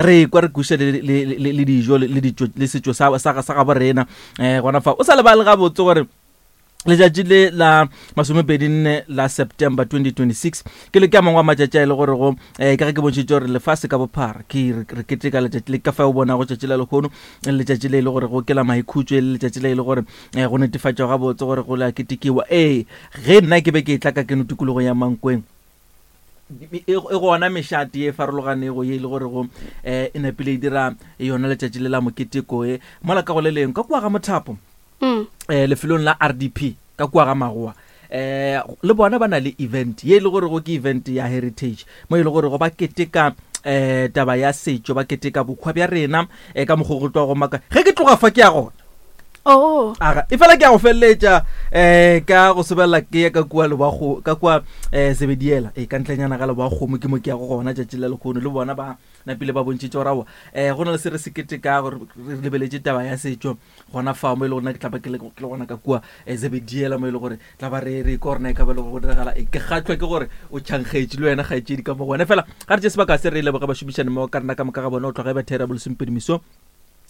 Re kwa re kwešiša le, le, le, le dijo le, le ditšo le setšo sa, sa, sa gabo rena um gona fa o sa lebale gabotse gore letšatši le la masomepedinne la September 2026 ke le ke a mangwe a matšatši a e le gore go um ka ge ke bontšhitše gore lefase ka bophara ke re re keteka letšatši le ka fa o bonago tšatši la lehono e le letšatši le e le gore go ke la maikhutšo e le letšatši le e le gore um go netefatšwa gabotse gore go la ketekiwa ee ge nna ke be ke etla ka keno tikologong ya Mankweng E, e gona mešate ye e farologanego ye e le gorego um e napile e dira yona letšatši le la moketeko e mola ka go le leng ka kua ga mothapo um lefelong la RDP ka kua ga magoa um le bona ba na le event ye e le gorego ke event ya heritage mo e le gorego ba keteka um taba ya setšo ba keteka bokhwa bja rena um ka mokgwa go tloga go maka ge ke tloga fa ke ya gona Oh. Aga, e fela ke a go feleletša um ka go sobelela ke ya ka kua leboago ka kua um sebediela e ka ntlenyana ga leboakgomo ke mo ke ya go gona tšatši la lekgono le bona ba napile ba bontšhitše gore aowa um go na le se re se ketekago re lebeletše taba ya setšo gona fao mo e le gore nna ke tla ba ke le gona ka kua um zebediela mo e le gore tla ba re re kwa gore na e ka ba le gore go diragala e ke kgatlhwa ke gore o tšhankgetše le wena kgaetšedi ka mo go wena fela ga re tše sebaka se re leboge bašomišani mo ka rena ka moka ga bona o tloga e ba thera bolesomepedi meso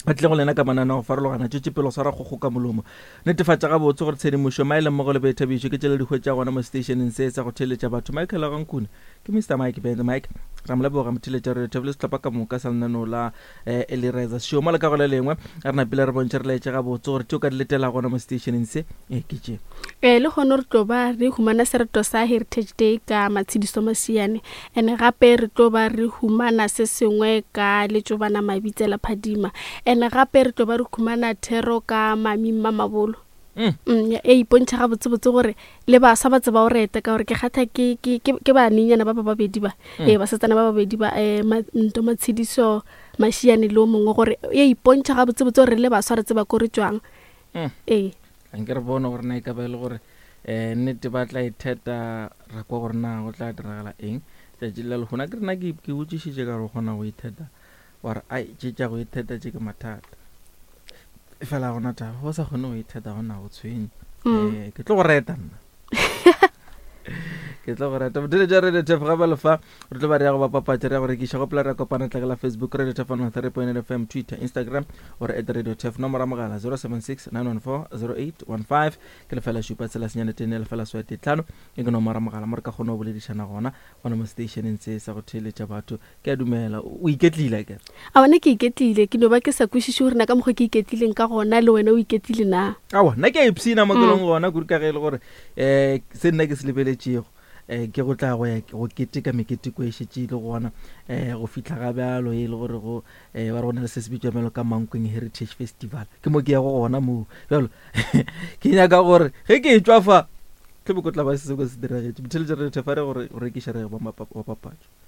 Ba tlile go lena ka mananeo a go farologana. Tšwetše pele go swara kgokgo ka molomo. Netefatša gabotse gore tshedimošo, maele mmogo le boithabišo ke tše le di hwetšago gona mo seteišeneng se sa go theeletša batho. Michael Gankune ke Mister Mike Band Mike. Ra mo leboga motheeletša radio thabile sehlopha ka moka sa lenaneo la eh, Early Risers Show. Mola ka go le lengwe re napile re bontšhe re laetše gabotse gore tše o ka di letela gona mo seteišeneng se eh, ke tše. Ee, lehono re tlo ba re humana sereto sa Heritage Day ka Matshidiso Masiane. Ene gape re tlo ba re humana se sengwe ka Letšobana Mabitsela Phadima. Ene gape re tlo ba re humana thero ka Mami Mmamabolo. Mm. Mm, e ipontšha gabotsebotse gore le baswa ba tseba go reta ka gore ke kgatha ke, ke, ke, ke banenyana ba ba babedi ba mm. ee basetsana ba babedi ba um Nto Matshediso Mashiane le o mongwe gore e ipontšha gabotsebotse gore le baswa re tseba ko re tšwang mm. ee Anke re bone gore na e ka ba e le gore um nnete ba tla itheta ra kwa gore na go tla diragala eng tšatši la lehono. Akere nna ke ke botšišitše ka gore o kgona go itheta wa re ai tše tša go itheta tše ke mathata. Efela ga gona taba, o sa kgone go itheta gona go tshwenye. Um ke tlo go reta nna. Ke tlo go reta. Botheletša Radio Turf ga bjalo fa re tlo ba re ya go ba papatša re ya go rekiša gopola re ya kopana tlakela Facebook Radio Turf 103.8 FM Twitter Instagram or at Radio Turf nomoro ya mogala 076 914 0815 Ke lefela šupa tshela senyane tee nne lefela swae tee tlhano. E ke nomoro ya mogala mo re ka kgona go boledišana gona, gona mo seteišeneng se sa go theeletša batho. Ke a dumela o iketlile akere? Aowa, nna ke iketlile. Ke no ba ke sa kwešiše gore na ka mokgwa ke iketlileng ka gona le wena o iketlile na. Aowa, nna ke a ipshina mo ke leng gona kudu ka ge e le gore um se nna ke se lebeletšego um ke go tla go ya go keteka meketeko e šetše e le gona um go fihla ga bjalo e le gore go um ba re go na le se se bitšwa bjalo ka Mankweng Heritage Festival. Ke mo ke yago gona moo. Bjalo ke nyaka gore ge ke etšwa fa tle bo ko tla ba se se diragetše. Botheletša re thefa re gore go rekiša re ba papatšo.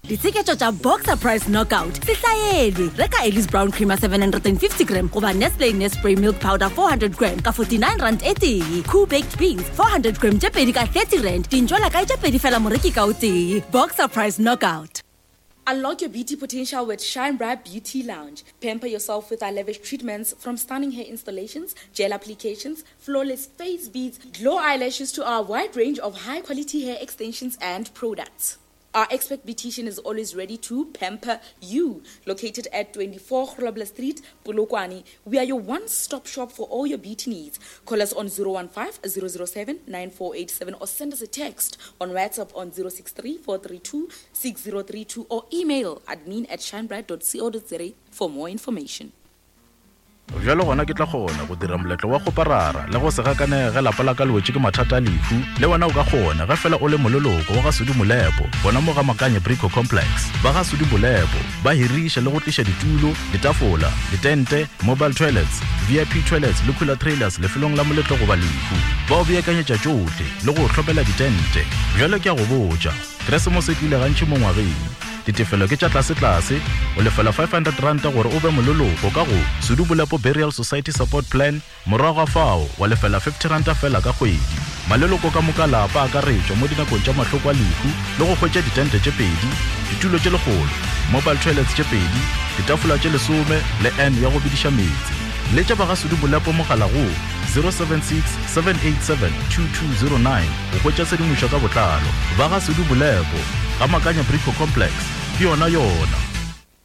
Ditsheketšo tša Boxer Price Knockout se hlaelwe. Reka Ellis Brown Creamer 750 gram goba Nestle Nespray Milk Powder 400 gram ka 49 rand e tee. Koo Baked Beans 400 gram tše pedi ka 30 rand. Dintšwela kae tše pedi fela moreki ka o tee. Boxer Price Knockout. Unlock your beauty potential with Shine Bright Beauty Lounge. Pamper yourself with our lavish treatments from stunning hair installations, gel applications, flawless face beads, glow eyelashes to our wide range of high quality hair extensions and products. Our expert beautician is always ready to pamper you. Located at 24 Grobler Street, Polokwane, we are your one-stop shop for all your beauty needs. Call us on 015 007 9487 or send us a text on WhatsApp on 063 432 6032 or email admin at shinebright.co.za for more information. Bjalo gona ke tla kgona go dira moletlo wa kgoparara le go se gakanege ge lapa la ka le wetše ke mathata a lehu. Le wena o ka kgona ge fela o le moleloko wa ga Sudi Molepo gona mo ga Makanye Brico Complex. Ba ga Sudi Molepo ba hiriša le go tliša ditulo, ditafola, ditente, mobile toilets, VIP toilets le cooler trailers lefelong la moletlo goba lehu. Ba o beakanyetša tšohle le go o hlomela ditente. Bjalo ke a go botša, Keresemose e tlile gantši mo ngwageng. Ditefelo ke tša tlasetlase, o lefela R500 gore o be moleloko ka go Sudu Bolepo Burial Society Support Plan, morago ga fao wa lefela R50 feela ka kgwedi. Maleloko ka moka lapa a akaretšwa mo dinakong tša mahloko a lehu le go hwetša ditente tše pedi, ditulo tše lekgolo, mobile toilets tše pedi, ditafola tše lesome le urn ya go bediša meetse. Letša ba ga Sudu Bolepo mogala go 076 787 2209 go hwetša tshedimošo ka botlalo. Ba ga Sudu Bolepo, ga Makanya Brico Complex, ke yona yona.